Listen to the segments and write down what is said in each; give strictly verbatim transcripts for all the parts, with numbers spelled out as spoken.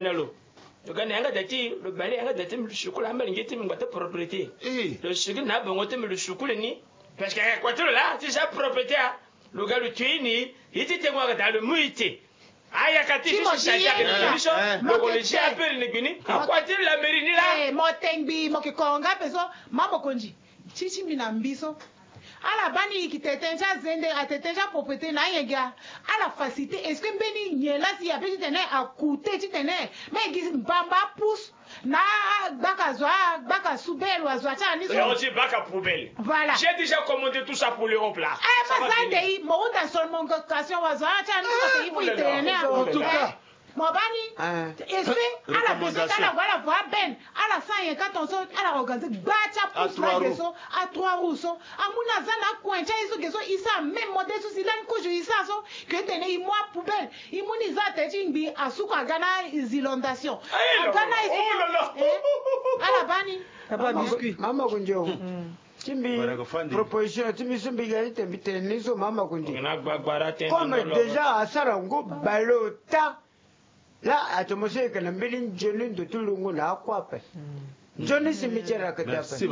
na lo. Lo ga na yanga da ti lo bale yanga da ti mbi lo sukulu ambali nge ti mbi ngba ti propriété. Lo sukulu na abongo ti mbi lo sukulu ni. Parce que eh, kua ti lo laa ti sa propriété ah. Lo ga lo tui ni ye ti tengo aga da lo mu ite. Ayaka ti so si sa ti aga na biso. Lo ko lo si appel ni gbi ni. Akua ti la mairie ni laa. Mo tengbi mo ke konga pe so. Ma mokonzi. Ti ti mbi na mbi so. Ala baa ni yeke tete ti azende atete ti apropriété na anyen gi a. Ala facilité est-ce que mbeni nyen laa si ape titene akute titene me gi mbamba apus na agbaka zo agbaka subele wa zo atiana ni so. Baka poubelle. Voilà. J'ai déjà commandé tout ça pour l'Europe là. Eh, ma za nde i mo hunda seulement occasion wa zo atiana ni so te i fu i tene. En tout cas. Mo baa ni. Est-ce que ala besoin ti ala gue ala vo aben ala sara nyen ka tonso ala organiser gba ti apus na ge so. A trois roues so amu na za na akuen ti aye so ge so i sara même modèle so si lani kozo i sara so. Ke tene i mu apoubelle i mu ni za tene ti ngbi asuku aga na inondation aga na ala baa ni. Papa biscuit. Mama kunjo. Ti mbi proposition ti mbi so mbi ga ti tene mbi tene ni so mama kunjo. Comme déjà asara ngo bale ota. Laa atomo so e yeke na mbeni nzoni ndo ti lungo na akua ape. Nzoni si mbi ti yeke daa ape. Il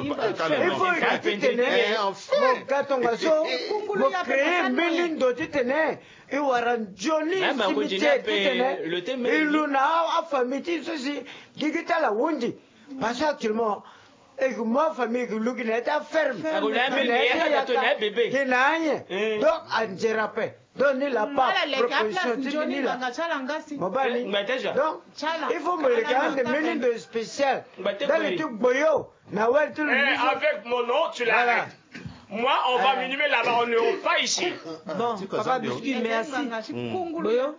faut e yeke titene mo ga tongaso mo créer mbeni ndo titene e wara nzoni si mbi ti yeke titene e lu na afamille ti so si gigi ti ala ahunzi. Parce que actuellement e yeke mu afamille e yeke lu gi na ya ti aferme gi na ya ti ayaka gi na anyen. Donc anzere ape. Donc ni la pa proposition ti mbi ni la. Mo baa ni. Donc il faut mo leke ande mbeni ndo spécial. Ndali ti gboyo na wali ti lo. Avec mon nom tu l'arrêtes. Moi on va m'inhumer là-bas, on ne pas ici. Bon papa biscuit merci. Gboyo.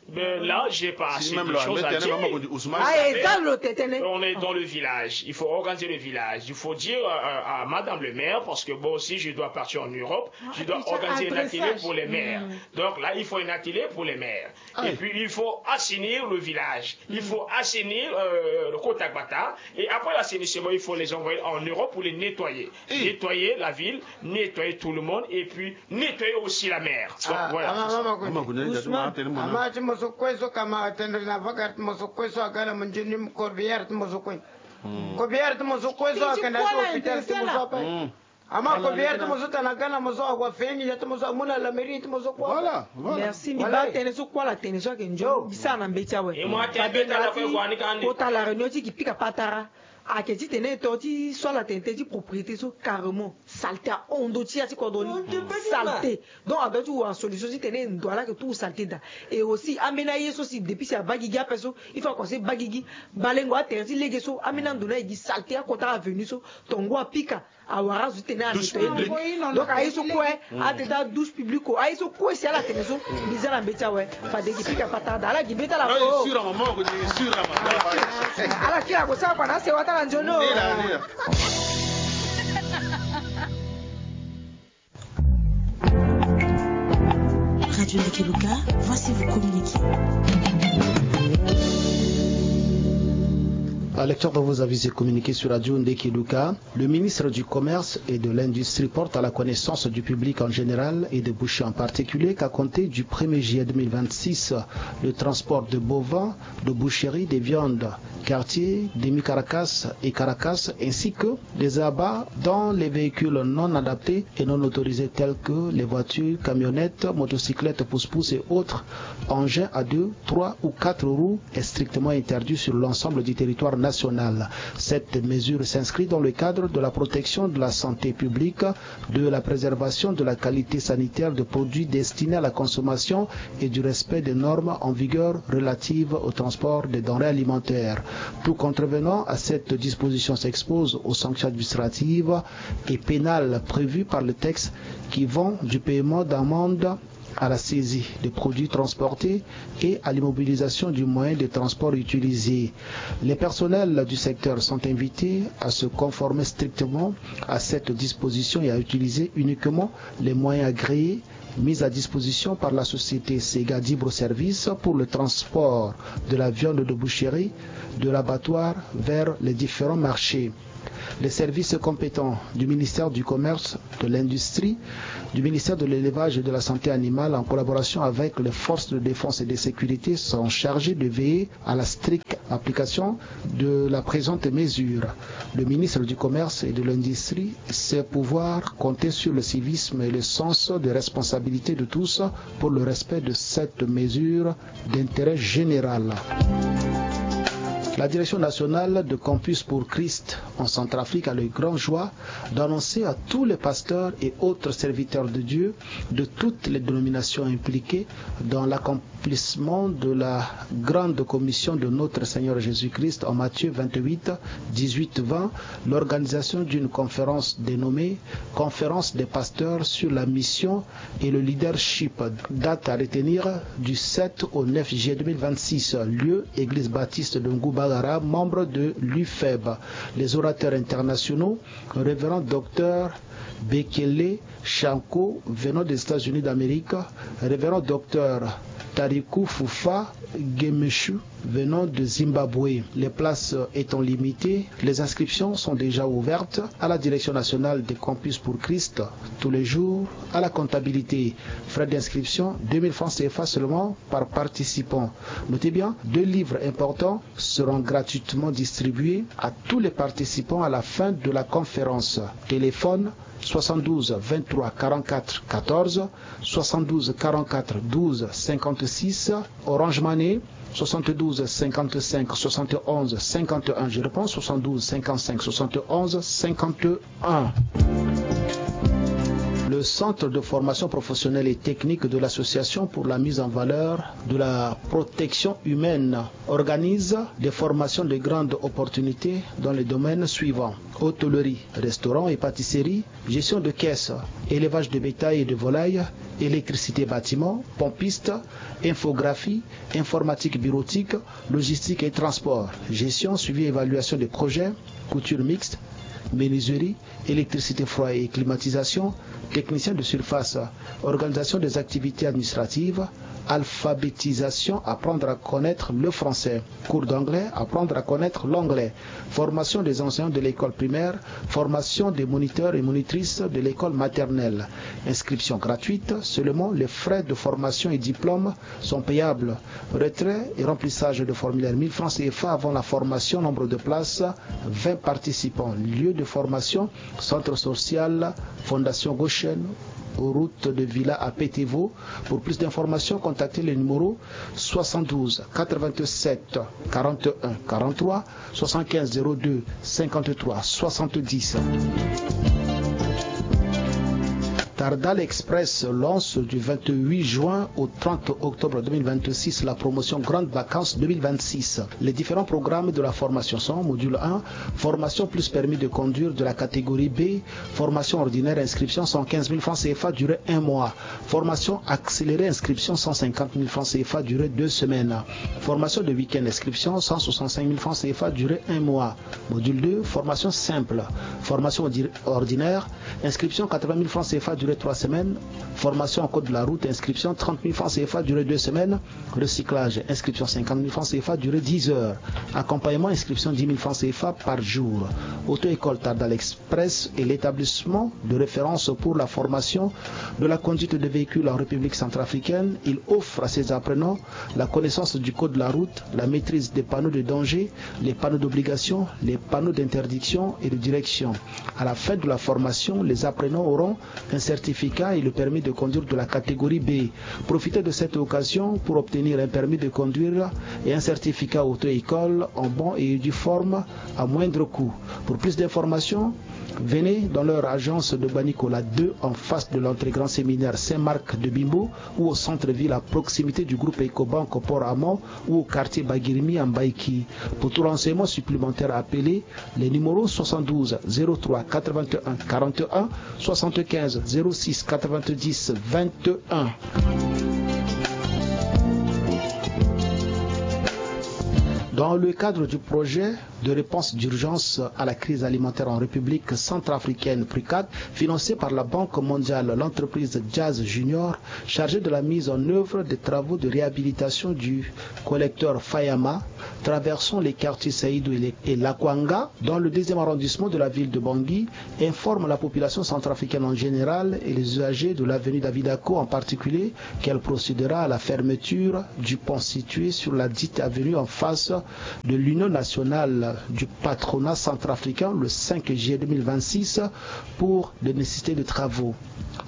Ben là, j'ai pas assez de choses à dire. On est dans le village, il faut organiser le village, il faut dire euh, à madame le maire, parce que bon, si je dois partir en Europe, je dois organiser un atelier pour les maires. Donc là, il faut un atelier pour les maires. Et puis, il faut assainir le village, il faut assainir euh, le Kotagbata, et après l'assainissement, il faut les envoyer en Europe pour les nettoyer. Nettoyer la ville, nettoyer tout le monde, et puis nettoyer aussi la mer. Donc voilà. Ama ti mo so kue so kama tendre na vaka ti mo so kue so aga na mo nzoni corbillard ti mo so kue. Corbillard ti mo so kue so akenda ti hôpital ti mo so ape. Ama corbillard ti mo so tana aga na mo so awa fengi ya ti mo so amu na la mairie ti mo so kue. Voilà, voilà. Merci mbi baa tënë so kue ala tene so ayeke nzoni mbi sara na mbeti awe. Fade nga ti kota la réunion ti yeke pika patara. Ayeke titene to ti so ala tene tënë ti propriété so carrément saleté ahon ndö ti ya ti kodro ni. Saleté. Donc adoit ti wara solution titene ndo ala yeke tout saleté daa. Et aussi ambeni aye so si depuis si abaa gigi ape so il faut aconseille baa gigi. Balengo atere ti lege so ambeni ando ni aye gi saleté akota avenue so tongo apika. Awara azo ti tene a nettoyer. Donc aye so kue atene ti adouche publique o aye so kue si ala tene so mbi za na mbeti awe. Fade gi pika patara daa ala gi mbeti ala ko. Ala kiri ako sara kua na asewa ti ala nzoni o. Radio Ndekeluka, voici vos communiqués. Lecteur de vos avis et communiqués sur Radio Ndekeluka. Le ministre du Commerce et de l'Industrie porte à la connaissance du public en général et de Boucher en particulier qu'à compter du premier juillet deux mille vingt-six, le transport de bovins, de boucheries, des viandes, quartiers, demi-carcasse et carcasse, ainsi que les abats dans les véhicules non adaptés et non autorisés tels que les voitures, camionnettes, motocyclettes, pousse-pousse et autres engins à deux, trois ou quatre roues est strictement interdit sur l'ensemble du territoire national. Cette mesure s'inscrit dans le cadre de la protection de la santé publique, de la préservation de la qualité sanitaire de produits destinés à la consommation et du respect des normes en vigueur relatives au transport des denrées alimentaires. Tout contrevenant à cette disposition s'expose aux sanctions administratives et pénales prévues par le texte qui vont du paiement d'amende à la saisie des produits transportés et à l'immobilisation du moyen de transport utilisé. Les personnels du secteur sont invités à se conformer strictement à cette disposition et à utiliser uniquement les moyens agréés mis à disposition par la société Sega Libre Service pour le transport de la viande de boucherie de l'abattoir vers les différents marchés. Les services compétents du ministère du Commerce, de l'Industrie, du ministère de l'Élevage et de la Santé animale, en collaboration avec les forces de défense et de sécurité, sont chargés de veiller à la stricte application de la présente mesure. Le ministre du Commerce et de l'Industrie sait pouvoir compter sur le civisme et le sens de responsabilité de tous pour le respect de cette mesure d'intérêt général. La direction nationale de Campus pour Christ en Centrafrique a le grand joie d'annoncer à tous les pasteurs et autres serviteurs de Dieu de toutes les dénominations impliqués dans l'accomplissement de la grande commission de notre Seigneur Jésus-Christ en Matthieu vingt-huit, dix-huit, vingt, l'organisation d'une conférence dénommée Conférence des pasteurs sur la mission et le leadership, date à retenir du sept au neuf juillet deux mille vingt-six, lieu église baptiste de Ngou Bagara, membre de l'UFEB. Les orateurs internationaux, révérend docteur Bekele Shanko, venant des États-Unis d'Amérique, révérend docteur Tariku Fufa Gemeshu, venant de Zimbabwe. Les places étant limitées, les inscriptions sont déjà ouvertes à la Direction nationale des Campus pour Christ tous les jours à la comptabilité. Frais d'inscription, deux mille francs C F A seulement par participant. Notez bien, deux livres importants seront gratuitement distribués à tous les participants à la fin de la conférence. Téléphone, soixante-douze vingt-trois quarante-quatre quatorze, soixante-douze quarante-quatre douze cinquante-six, Orange Money, soixante-douze cinquante-cinq soixante-onze cinquante et un, je reprends, soixante-douze cinquante-cinq soixante-onze cinquante et un. Le centre de formation professionnelle et technique de l'Association pour la mise en valeur de la protection humaine organise des formations de grande opportunité dans les domaines suivants: hôtellerie, restaurant et pâtisserie, gestion de caisse, élevage de bétail et de volailles, électricité bâtiment, pompiste, infographie, informatique bureautique, logistique et transport, gestion, suivi et évaluation des projets, couture mixte, menuiserie, électricité, froid et climatisation, technicien de surface, organisation des activités administratives, alphabétisation, apprendre à connaître le français, cours d'anglais, apprendre à connaître l'anglais, formation des enseignants de l'école primaire, formation des moniteurs et monitrices de l'école maternelle. Inscription gratuite, seulement les frais de formation et diplôme sont payables. Retrait et remplissage de formulaire, mille francs C F A avant la formation, nombre de places, vingt participants. Lieu de formation, centre social Fondation Goshen, route de Villa à Pétévo. Pour plus d'informations, contactez le numéro soixante-douze quatre-vingt-sept quarante et un quarante-trois, soixante-quinze zéro deux cinquante-trois soixante-dix. Tardal Express lance du vingt-huit juin au trente octobre deux mille vingt-six la promotion Grandes Vacances deux mille vingt-six. Les différents programmes de la formation sont: module un, formation plus permis de conduire de la catégorie B, formation ordinaire, inscription cent quinze mille francs C F A, durée un mois. Formation accélérée, inscription cent cinquante mille francs C F A, durée deux semaines. Formation de week-end, inscription cent soixante-cinq mille francs C F A, durée un mois. Module deux, formation simple. Formation ordi-, ordinaire, inscription quatre-vingt mille francs C F A, durée trois semaines. Formation en code de la route, inscription trente mille francs C F A, durée deux semaines. Recyclage, inscription cinquante mille francs C F A, durée dix heures. Accompagnement, inscription dix mille francs C F A par jour. Auto-école Tardal Express est l'établissement de référence pour la formation de la conduite de véhicules en République centrafricaine. Il offre à ses apprenants la connaissance du code de la route, la maîtrise des panneaux de danger, les panneaux d'obligation, les panneaux d'interdiction et de direction. À la fin de la formation, les apprenants auront un certificat et le permis de conduire de la catégorie B. Profitez de cette occasion pour obtenir un permis de conduire et un certificat auto-école en bonne et due forme à moindre coût. Pour plus d'informations, venez dans leur agence de Banicola deux, en face de l'entrée Grand Séminaire Saint-Marc de Bimbo, ou au centre-ville à proximité du groupe Ecobank Port Amont, ou au quartier Bagirimi à Mbaïki. Pour tout renseignement supplémentaire, appelez les numéros soixante-douze zéro trois quatre-vingt-un quarante et un, soixante-quinze zéro six quatre-vingt-dix vingt et un. Dans le cadre du projet de réponse d'urgence à la crise alimentaire en République centrafricaine, PRUCAD, financée par la Banque mondiale, l'entreprise Jazz Junior, chargée de la mise en œuvre des travaux de réhabilitation du collecteur Fayama, traversant les quartiers Saïdou et les- et Lakwanga, dans le deuxième arrondissement de la ville de Bangui, informe la population centrafricaine en général et les usagers de l'avenue David Ako en particulier qu'elle procédera à la fermeture du pont situé sur la dite avenue en face de l'Union nationale du patronat centrafricain le cinq juillet deux mille vingt-six pour des nécessités de travaux.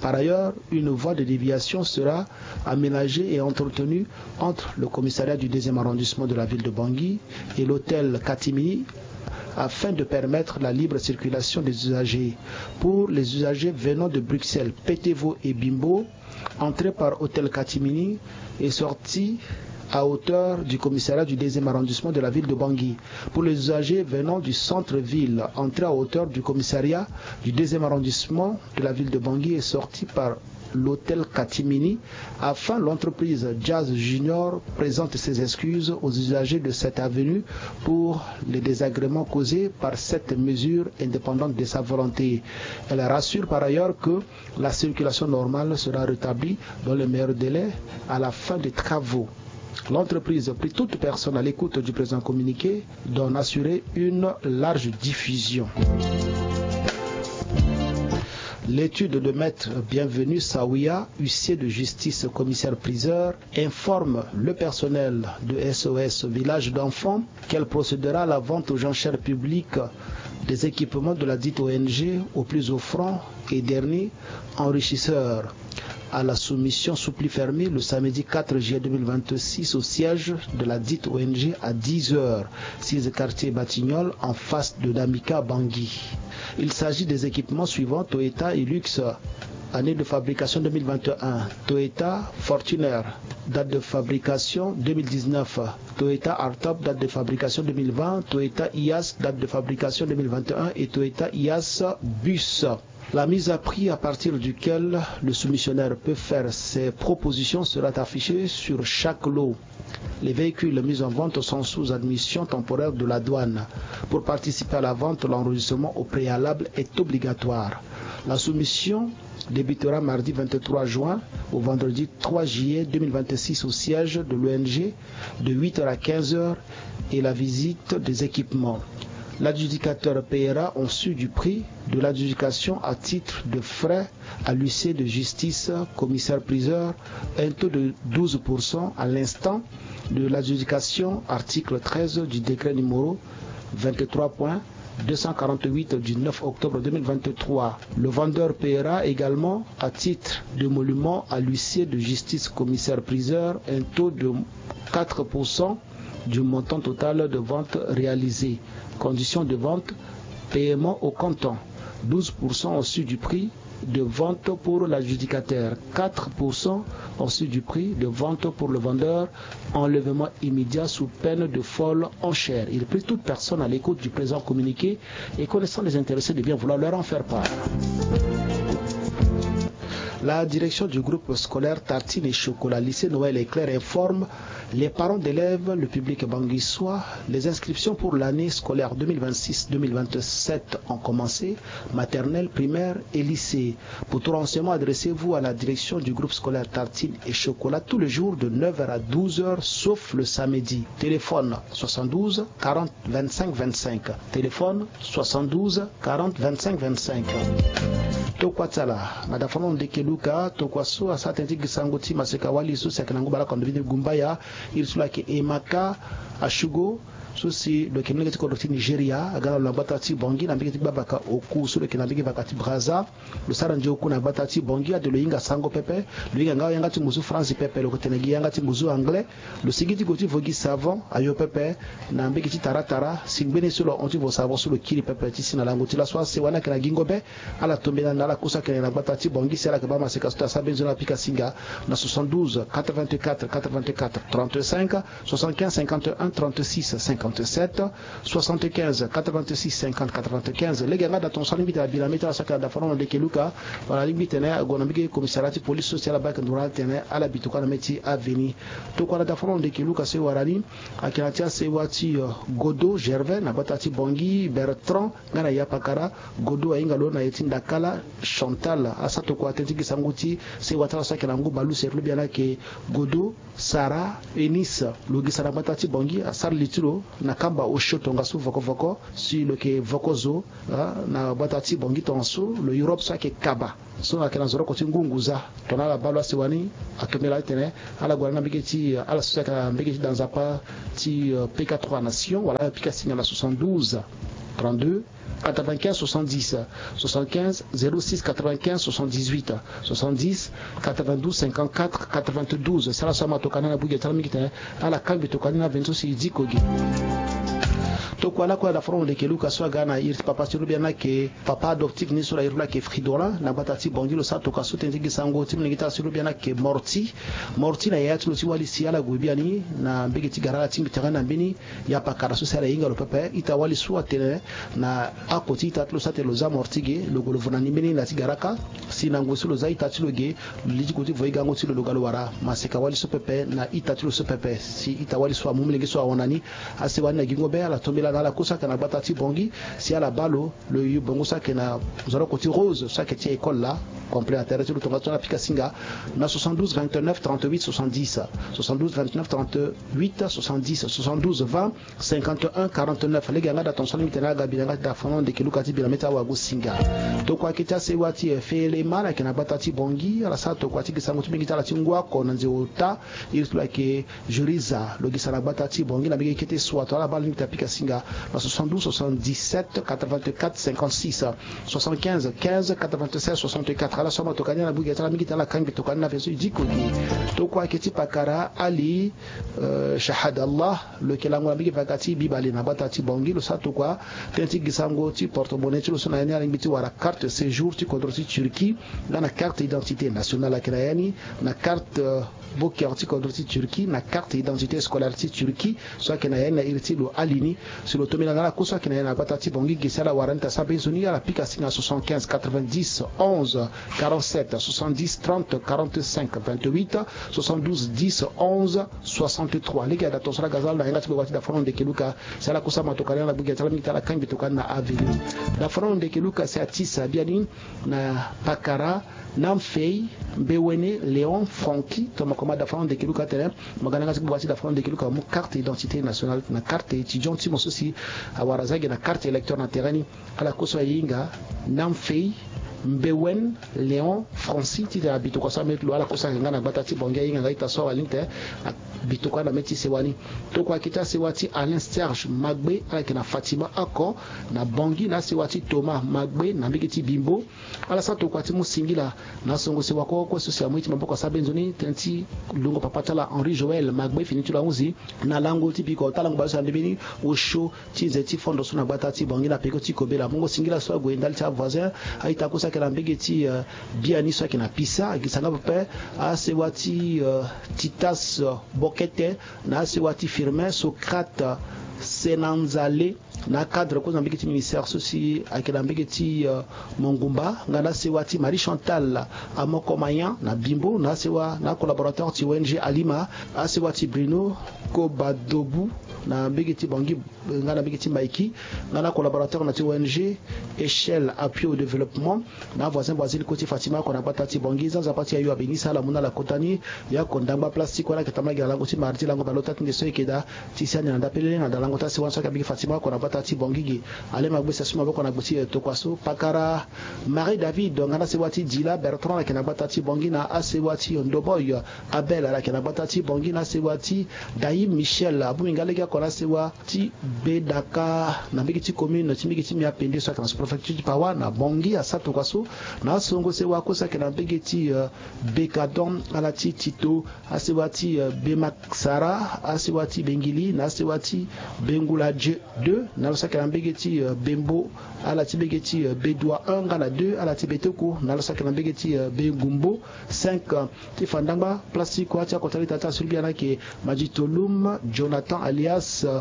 Par ailleurs, une voie de déviation sera aménagée et entretenue entre le commissariat du deuxième arrondissement de la ville de Bangui et l'hôtel Katimini afin de permettre la libre circulation des usagers. Pour les usagers venant de Bruxelles, Petevo et Bimbo, entrée par hôtel Katimini et sortie à hauteur du commissariat du deuxième arrondissement de la ville de Bangui. Pour les usagers venant du centre-ville, entrée à hauteur du commissariat du deuxième arrondissement de la ville de Bangui et sortie par l'hôtel Katimini. Enfin, l'entreprise Jazz Junior présente ses excuses aux usagers de cette avenue pour les désagréments causés par cette mesure indépendante de sa volonté. Elle rassure par ailleurs que la circulation normale sera rétablie dans les meilleurs délais à la fin des travaux. L'entreprise prie toute personne à l'écoute du présent communiqué d'en assurer une large diffusion. L'étude de maître Bienvenu Sawiya, huissier de justice, commissaire priseur, informe le personnel de S O S Village d'enfants qu'elle procédera à la vente aux enchères publiques des équipements de la dite O N G au plus offrant et dernier enrichisseur à la soumission sous pli fermé le samedi quatre juillet deux mille vingt-six au siège de la dite O N G à dix heures, six quartier Batignolles, en face de Damica Bangui. Il s'agit des équipements suivants: Toyota Hilux, année de fabrication deux mille vingt et un, Toyota Fortuner, date de fabrication deux mille dix-neuf, Toyota Hardtop, date de fabrication deux mille vingt, Toyota Hiace, date de fabrication deux mille vingt et un, et Toyota Hiace Bus. La mise à prix à partir duquel le soumissionnaire peut faire ses propositions sera affichée sur chaque lot. Les véhicules mis en vente sont sous admission temporaire de la douane. Pour participer à la vente, l'enregistrement au préalable est obligatoire. La soumission débutera mardi vingt-trois juin au vendredi trois juillet deux mille vingt-six au siège de l'O N G de huit heures à quinze heures et la visite des équipements. L'adjudicateur paiera en su du prix de l'adjudication à titre de frais à l'huissier de justice, commissaire priseur, un taux de douze pour cent à l'instant de l'adjudication, article treize du décret numéro vingt-trois point deux cent quarante-huit du neuf octobre deux mille vingt-trois. Le vendeur paiera également à titre d'émolument à l'huissier de justice, commissaire priseur, un taux de quatre pour cent du montant total de vente réalisé. Conditions de vente: paiement au comptant, douze pour cent au su du prix de vente pour l'adjudicateur, quatre pour cent au su du prix de vente pour le vendeur, enlèvement immédiat sous peine de folle enchère. Il prie toute personne à l'écoute du présent communiqué et connaissant les intéressés de bien vouloir leur en faire part. La direction du groupe scolaire Tartine et Chocolat, lycée Noël Éclair, informe les parents d'élèves, le public banguissois. Les inscriptions pour l'année scolaire deux mille vingt-six deux mille vingt-sept ont commencé, maternelle, primaire et lycée. Pour tout renseignement, adressez-vous à la direction du groupe scolaire Tartine et Chocolat tous les jours de neuf heures à douze heures, sauf le samedi. Téléphone soixante-douze quarante vingt-cinq vingt-cinq. Téléphone soixante-douze quarante vingt-cinq vingt-cinq. Tokua ti ala, na dafa na ndeke Luka, tokua so asara tënë ti gi sango ti maseka wali so si ayeke na ngu bale oko na ndö ni Gumbaya, iri so lo yeke Emeka Asugo, so si lo yeke molenge ti kodro ti Nigeria, aga na lo na gbata ti Bangui na mbage ti Gbabaka Oku, so lo yeke na mbage vaka ti Brazza. Lo sara nzoni oku na gbata ti Bangui, ade lo hinga sango pepe. Lo hinga nga yanga ti ngu zu France pepe, lo yeke tene gi yanga ti ngu zu anglais. Lo sigi ti gue ti vo gi savon ayo pepe na mbage ti Taratara, si ngbene so lo hon ti vo savon so lo kiri pepe ti si na lango ti laso ase. Wani ayeke na gingo be, ala tombe na ala ku so ayeke na gbata ti Bangui, si ala yeke baa maseka so taa, asara beni nzoni apika singa na soixante-douze quatre-vingt-quatre quatre-vingt-quatre trente-cinq, soixante-quinze cinquante et un trente-six cinquante. soixante-sept, soixante-quinze, quatre-vingt-six, cinquante, quatre-vingt-quinze. Lege yanga da tonso alingbi tene abila mbi ti ala so ayeke na dafaron na ndeke luka, wala alingbi tene ague na mbege commissariat ti police so si ala baa ayeke nduru na ala tene ala bi tokua na mê ti aveni. Tokua na dafaron na ndeke luka so e wara ni ayeke na ti asewa ti, euh, Godo Gervais na gbata ti Bangui, Bertrand nga na Yapakara. Godo ahinga lo na ye ti Ndakala, Chantal. Asara tokua tënë ti gi sango ti sewa ti ala so ayeke na ngu balu, seri lo biani ayeke Godo Sarah Eunice, lo gi sara na gbata ti Bangui, asara li ti lo na kamba osio tongaso voko voko, si lo yeke voko zo, ah, na gbata ti Bangui tongaso, lo Europe so ayeke kaba. So ayeke na zoroko ti ngu nguza. Tongana ala baa lo asewa ni, atombela atene ala gue na mbege ti, ala so si ayeke na mbege ti da nzapa ti, euh, P K trois Nations, wala apika singa na soixante-douze, trente-deux, quatre-vingt-quinze, soixante-dix, soixante-quinze, zéro six, quatre-vingt-quinze, soixante-dix-huit, soixante-dix, quatre-vingt-douze, cinquante-quatre, quatre-vingt-douze. Si ala so ama tokua ni na bui ge ti ala mingi tene ala kangbi tokua ni na veni so si e diko ge. Tokua lakue na dafaron na ndeke luka so aga na iri ti papa ti lo biani ayeke papa adoptif ni so na iri ti lo ayeke Fridolin na gbata ti Bangui, lo sara tokua so tënë ti gi sango ti molenge ti ala so lo biani ayeke Morti. Morti na yaya ti lo ti wali si ala gue biani na mbege ti gara ala tingbi tere na mbeni Yapakara so si ala hinga lo pepe. Ita wali so atene na ako ti ita ti lo so atene lo za Morti ge, lo gue lo vo na ni mbeni na ti gara kâ. Si na ngoi so lo za ita ti lo ge, lo lidi ko ti vo e gango ti lo, lo ga lo wara maseka wali so pepe na ita ti lo so pepe. Si ita wali so amu molenge so ahon na ni, asewa ni na gingo be, ala tombela na ala kue so ayeke na gbata ti Bangui si ala baa lo. Lo yu bongo so ayeke na zoroko ti Rose so ayeke ti école la, complet na tere ti lo tongaso na pika singa na soixante-douze vingt-neuf trente-huit soixante-dix, soixante-douze vingt-neuf trente-huit soixante-dix, soixante-douze vingt cinquante et un quarante-neuf. Lege yanga da tonso alingbi tene aga bi na yanga ti dafaron na ndeke luka ti bi na mê ti awago singa. Tokua ayeke ti asewa ti, eh, Feele Mala ayeke na gbata ti Bangui, ala sara tokua ti gi sango ti mbege ti ala ti ngu oko na nze ota, iri ti lo ayeke Juriza, lo gi sara na gbata ti Bangui na mbege ti kete sua. Tongana ala baa alingbi tene apika singa na soixante-douze soixante-dix-sept quatre-vingt-quatre cinquante-six, soixante-quinze quinze quatre-vingt-seize soixante-quatre. Ala so ama tokua ni na bui ge ti ala mingi tene ala kangbi tokua ni na veni so e diko ge. Tokua ayeke ti pakara Ali, euh, Shahadallah, lo yeke lango na mbege vaga ti Bibale na gbata ti Bangui, lo sara tokua tënë ti gi sango ti porte-monnaie ti lo so na ya ni alingbi ti wara carte séjour ti kodro ti Turquie, nga na carte d'identité nationale ayeke na ya ni, na carte, euh, boker ti kodro ti Turquie, na carte d'identité scolaire ti Turquie so ayeke na ya ni na iri ti lo Ali ni. Si lo tombela na ala kue so ayeke na ya na gbata ti Bangui ge si ala wara ni ta sara mbeni zo ni, ala pika singa soixante-quinze quatre-vingt-dix onze quarante-sept, soixante-dix trente quarante-cinq vingt-huit, soixante-douze dix onze soixante-trois. Lege ada tonso ala ga za lo na yanga ti gbagba ti dafaron na ndeke luka si ala kue so ama tokua ni ala gbu ge ti ala mingi ti ala kangbi tokua ni na avenue. Dafaron na ndeke luka si atisa biani na pakara Namfei Mbewene Léon Francky, tongana mo koma dafaron na ndeke luka atene mo ga na yanga ti gbagba ti dafaron na ndeke luka, mo mu carte d'identité nationale na carte étudiant ti mo so si awara za ge na carte électeur na tere ni. Ala kue so ahinga Namfei Mbewen Léon Francky titene abi tokua so ameri ti lo, ala kue so ayeke nga na gbata ti Bangui ahinga nga ita so awa ni titene abi tokua na mê ti sewa ni. Tokua ayeke ti asewa ti Alain Serge Magbe, ala yeke na Fatima oko na Bangui, na asewa ti Thomas Magbe na mbege ti Bimbo. Ala sara tokua ti mu singila na asongo sewa kue kue so si amu ye ti maboko asara mbeni nzoni tënë ti lungo papa ti ala Henri Joël Magbe, fini ti lo ahunzi na lango ti biko ti alango bale so na ndembeni osio ti nze ti fondo so na gbata ti Bangui na peko ti kobela. Mungo singila so ague ndali ti avoisin, a-ita kue so ayeke na mbege ti, eh, biani so ayeke na Pisa, agisa nga pepe asewa ti, eh, Titas, eh, Bokete, na asewa ti Firmin Socrate Senanzale, na acadre kue na mbege ti ministère so si ayeke na mbege ti, eh, Mongumba, nga na asewa ti Marie Chantal Amoko Mayan na Bimbo, na asewa na acollaborateur ti O N G Alima, asewa ti Bruno Kobadobu na mbege ti Bangui, nga na mbege ti Maïki, nga na collaborateur na ti O N G Échelle Appui au Développement, na avoisin voisine kue ti Fatima oko na gbata ti Bangui. Za nzapa ti ayo abengisa ala mu na ala kota ni. Yako ndangba place ti kue na ayeke tambula gi na lango ti mardi lango bale ota ti nde so ayeke daa ti siani na ndapelele na dalango ti asewa ni so ayeke mbege Fatima oko na gbata ti Bangui ge. Ale ma gbesi asu maboko na gbe ti, eh, tokua so. Pakara Marie David nga na asewa ti Dila Bertrand ayeke na gbata ti Bangui, na asewa ti Ndoboy Abel ala yeke na gbata ti Bangui, na asewa ti Daïm Michel abongbi nga lege oko na asewa ti Bedaka na mbege ti commune ti mbege ti Miapende so ayeke na sous-préfecture ti Pawa na Bangui asara tokua so. Na asongo sewa kue so ayeke na mbege ti, euh, Bekadon, ala ti Tito, asewa ti, euh, Bemaksara, asewa ti Bengili, na asewa ti Bengula Dieu deux, na lo so ayeke na mbege ti, euh, Bembo, ala ti mbege ti, euh, Bedoua un nga na deux, ala ti Betoko, na lo so ayeke na mbege ti, euh, Bengumbo cinq, euh, ti fa ndangba place ti kua ti akota lita ti asulubi ana ayeke Majitolum Jonathan alias, euh,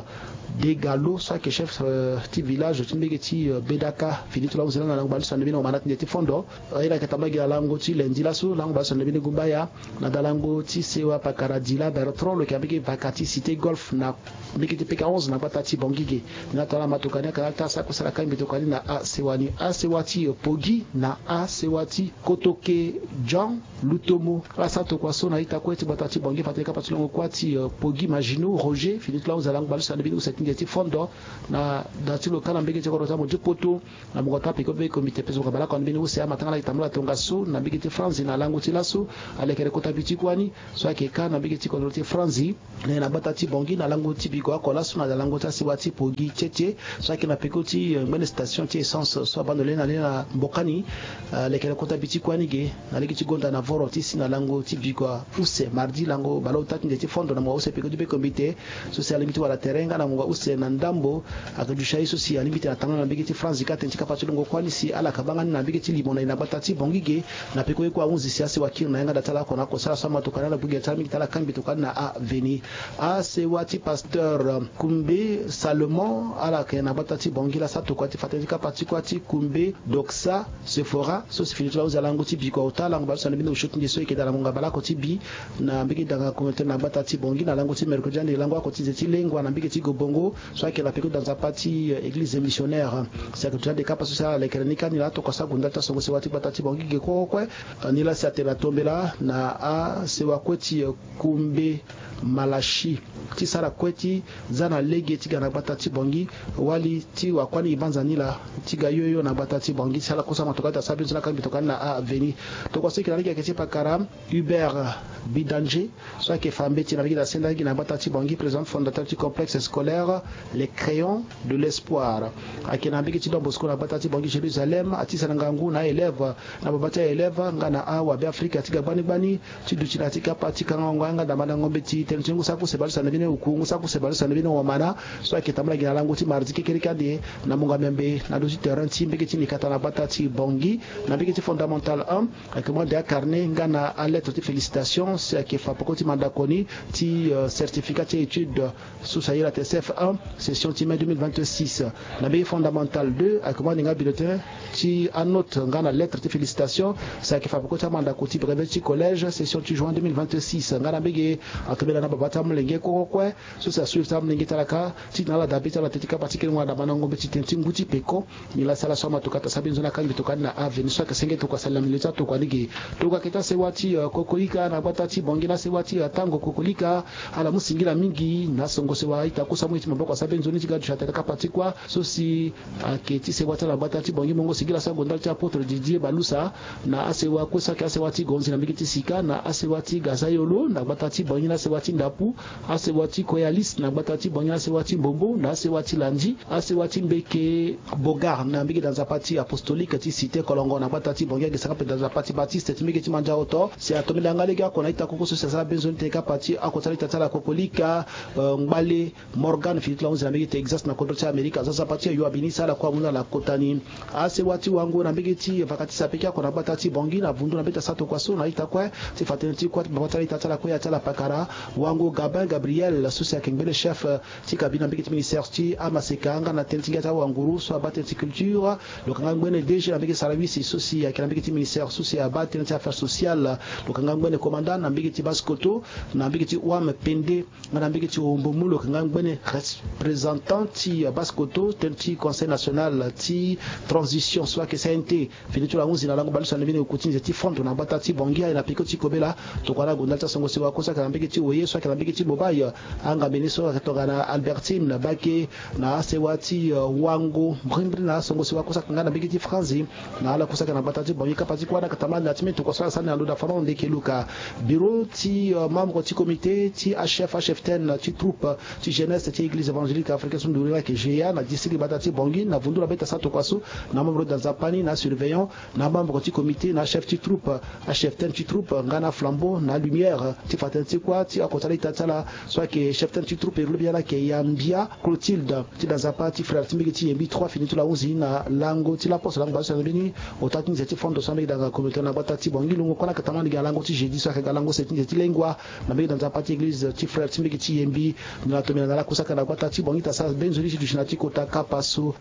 Degalo so ayeke chef, euh, ti village ti mbege ti, euh, Bedaka, fini ti lo ahunzi na lango baleuse na ndembe ni wa mandat nde ti fondo. Aye na yeke tambula gi na lango ti lundi laso, lango baleuse na ndembe ni gumbaya, na dalango ti sewa pakara Dila Bertrand lo yeke na mbege vaka ti Cité Golf na mbege ti P K onze na gbata ti Bangui ge. Ni atara matokani akara ti asara kue sara kangbi tokani na asewa ni. Asewa ti Pogi na asewa ti Kotoke Jean Lutomo, ala sara tokua so na ita kue ti gbata ti Bangui, fa tene kapa ti longo kuâ ti, euh, Pogi Maginot Roger, fini ti lo ahunzi na lango baleuse na ndembe ni use ti ndia ti fondo na da ti lo kâ na mbege ti kodro ti amu ti poto. Na mungo ti apeko be komite peso ka baleoko na mbeni use amatanga na ita tambula tongaso na mbege ti France na lango ti laso. Alekere kota bi ti kuâ ni so ayeke kâ na mbege ti kodro ti France, na gbata ti Bangui na lango ti bigo oko laso na lango ti asewa ti Pogi tietie so ayeke na peko ti, euh, ngbene station ti essence so abando lena lena mbokani. Euh, alekere kota bi ti kuâ ni ge na lege ti gonda na voro ti si na lango ti bigo use mardi lango baleota ti ndia ti fondo na mungo use peko ti be komite so si alingbi ti wara tere nga na mungo use na ndambo. Ayeke duti aye so si alingbi ti na tambula na mbege ti France ka tene ti kapa ti longo kuâ ni si ala ka banga ni na mbege ti limo na e na gbata ti Bangui ge. Na peko ye kue ahunzi si asewa kiri na yanga da ti ala oko na oko sara so amatokani ala gbu ge ti ala mingi ti ala kangbi tokani na aveni. Asewa ti pasteur, euh, Kumbe Salomon, ala yeke na gbata ti Bangui la sara tokua ti fa tene ti kapa ti kuâ ti Kumbe Doxa Sephora so si fini ti lo ahunzi na lango ti bi kua ota lango baleuse na ndembe ni use ti ndia so e yeke daa na mungo baleoko ti bi na mbege danga communautaire na gbata ti Bangui na lango ti mercredi ande lango oko ti nze ti lengua na mbege ti Gobongo so ayeke na peko da nzapa ti, euh, église missionnaire. Si ayeke duti ande kapa so si ala lekere ni kâ ni la atokua so ague ndali ti asongo sewa ti gbata ti Bangui ge kue kue. Euh, ni la si atene na tombela na asewa kue ti, euh, Kumbe Malachi ti sara kue ti za na lege ti ga na gbata ti Bangui. Wali ti wakuâ ni e banza ni la ti ga yoyo na gbata ti Bangui si ala kosa matokani ti asara bini so na kangbi tokani na aveni. Tokua so e yeke na lege ayeke ti pakara Hubert Bidanger so ayeke fa mbeti na lege na senda lege na gbata ti Bangui, président fondateur ti complexe scolaire Les Crayons de l'Espoir. Ayeke na mbege ti Don Bosco na gbata ti Bangui Jérusalem, atisa na ngangu na aélève na babâ ti aélève nga na awabe Afrika ti ga gbani gbani ti duti na ya ti kapa ti kangango yanga ndamba na ngombe ti tënë ti ngu saki use baleuse na ndembe ni oku ngu saki use baleuse na ndembe ni wamana so ayeke tambula gi na lango ti mardi kekereke ande na mungo miambe na ndö ti terrain ti mbege ti nikata na gbata ti Bangui. Na mbege ti fondamental un ayeke mu ande acarnet nga na alettre ti félicitation si ayeke fa peko ti mandako ni ti, euh, certificat ti étude so si aye la ti CF un, session ti mai deux mille vingt-six. Na mbege fondamental deux ayeke mu ande nga bulletin ti anote nga na lettre ti félicitation si ayeke fa peko ti amandako ti brevet ti collège, session ti juin deux mille vingt-six. Nga na mbege atombela na babâ ti amolenge kue kue so si asui ti amolenge ti ala kâ ti tena ala dabe ti ala tene ti kapa ti kelengo na daba na ngombe ti tene ti ngu ti peko. Nilaa si ala so amatokata asara bini nzoni akangbi tokani na aveni so ayeke senge tokua sali na milieu ti atokua ni ge. Tokua ayeke ti asewa ti, euh, kokolika na gbata ti Bangui na asewa ti, euh, tango kokolika. Ala mu singila mingi na asongo sewa ita kusa mu ye ti maboko asara bini nzoni ti ga duti atene kapa ti kuâ so si ayeke ti sewa ti ala na gbata ti Bangui. Mongo singila so ague ndali ti apôtre Didier Balusa na asewa kue so ayeke asewa ti Gonzi na mbege ti Sika na asewa ti Gazayolo na gbata ti Bangui na asewa ti Ndapu, asewa ti Koyalis na gbata ti Bangui na asewa ti Mbombo na asewa ti Landi, asewa ti Mbeke Bogar na mbege da nzapa ti apostolique ti Cité Kolongo na gbata ti Bangui, agi sanga mpe da nzapa ti Baptiste ti mbege ti Mandiaoto. Si atombela nga lege oko na ita koko so si asara beni nzoni tene kapa ti oko ti ala ita ti ala kokolika, euh, Ngbale Morgan fini ti lo ahunzi na mbege Texas na kodro ti Amerika aza nzapa ti ayo abini si ala kue amu na ala kota ni. Asewa ti wango na mbege ti vaka ti sapeki oko na gbata ti Bangui na vundu na mbeti asara tokua so na ita kue ti fa tënë ti kuâ ti baba ti ala ita ti ala kue ya ti ala pakara wango Gabin Gabriel so si ayeke ngbene chef, euh, ti cabinet na mbege ti ministère ti amaseka nga na tënë ti ngia ti awanguru so abaa tënë ti culture. Lo yeke nga ngbene D G na mbege sarawisi so si ayeke na mbege ti ministère so si abaa tënë ti affaires sociales. Lo yeke nga ngbene commandant na mbege ti Basse-Kotto, na mbege ti Ouham Pendé nga na mbege ti Hohombo-Moulo, lo yeke nga ngbene représentant ti, euh, Basse-Kotto tënë ti Conseil national ti transition so ayeke C N T. Fini ti lo ahunzi na lango baleuse na ndembe ni oku ti nze ti fondo na gbata ti Bangui aye na peko ti kobela. Tokua na ague ndali ti asongo sewa kue so ayeke na mbege ti Oye so ayeke na mbege ti Bobaye. Angambe ni so ayeke tongana Albertine Bake na asewa ti, euh, wango mbrimbri na asongo sewa kue so ayeke nga na mbege ti Franzi. Na ala kue so ayeke na gbata ti Bangui kapa ti kuâ na yeke tambula na ya ti mbeni tokua so ala sara ni na lo da Fernand Ndeke Luka. bureau ti membre ti comité ti achef acheftaine ti troupe ti jeunesse ti église évangélique africaine so nduru ni ayeke G A na district gbata ti Bangui na vundu na beta sa tokua so, na membre da nzapa ni na surveillant, na membre ti comité na achef ti troupe, acheftaine ti troupe nga na flambeau na lumière ti fa tënë ti kuâ ti oko ti ala ita ti ala so ayeke cheftaine ti troupe iri lobi ala ayeke Yambia Clotilde ti da nzapa ti frère ti mbege ti Yembi trois fini ti lo ahunzi na lango ti laposte lango baleuse na mbeni ota ti nze ti fondo so ambege danga comité na gbata ti Bangui. Lungo kue lakata ma lege na lango ti jeudi so ayeke ga lango se ti nze ti lengua na mbege da nzapa ti église ti frère ti mbege ti Yembi. Nzoni na tomina na lakusaka na gbata ti Bangui ta sa benzoni ti duti na ti kota kapa so.